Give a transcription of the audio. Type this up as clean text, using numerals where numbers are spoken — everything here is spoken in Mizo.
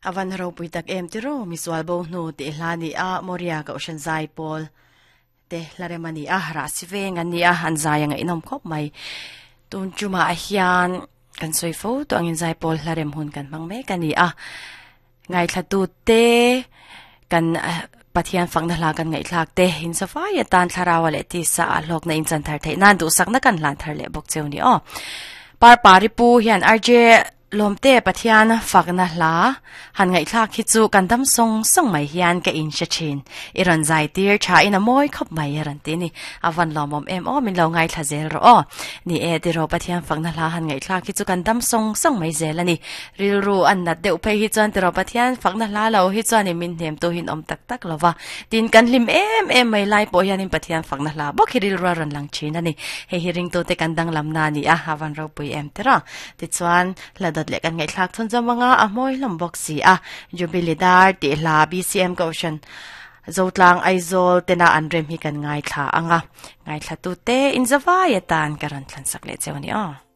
A van ropui tak em tiraw misual bo hnu tih hla ni a Moria Kohhran zai pawl te hla rem a ni a rah si veng an ni a an zai a ngaihnawm khawp mai. Tun tumah hian kan sawi fo tawh angin zai pawl hla rem hun kan hmang mek a ni a ngaithla te kan Pathian fakna hla kan ngaihthlak te in safai atan thlarau leh tisa a hlawkna in chan thar theih nan duhsakna kan hlan thar leh bawk cheu ni aw. Parpari pu hian RJ Lawmte Pathian fakna hla han ngaihthlak hi chu kan dam sawng sawng mai hian ka in hre thin. I rawn zai tir tha in a mawi khawp mai a rawn ti ni. A van lawmawm em aw min lo ngaithla zel rawh aw. Ni e tiraw Pathian fakna hla han ngaihthlak hi chu kan dam sawng sawng mai zel a ni. Rilru an nat deuh phei hi chuan tiraw Pathian fakna hla lo hi chuanin min hnem tu hin awm tak tak lo va. Tin kan hlim em em mai lai pawh hianin Pathian fakna hla bawk hi rilru a rawn lang thin a ni. Hei hi ringtute kan danglamna a ni a, a van ropui em tiraw. Tichuan, hla dawt leh kan ngaihthlak chhun zawm anga a hmawi hlawm bawk si a. Jubilee Dar tih hla BCM Kohhran Zotlang Aizawl tena an rem hi kan ngaithla anga. Ngaithlatute inzavai atan ka rawn thlansak leh cheu a ni aw.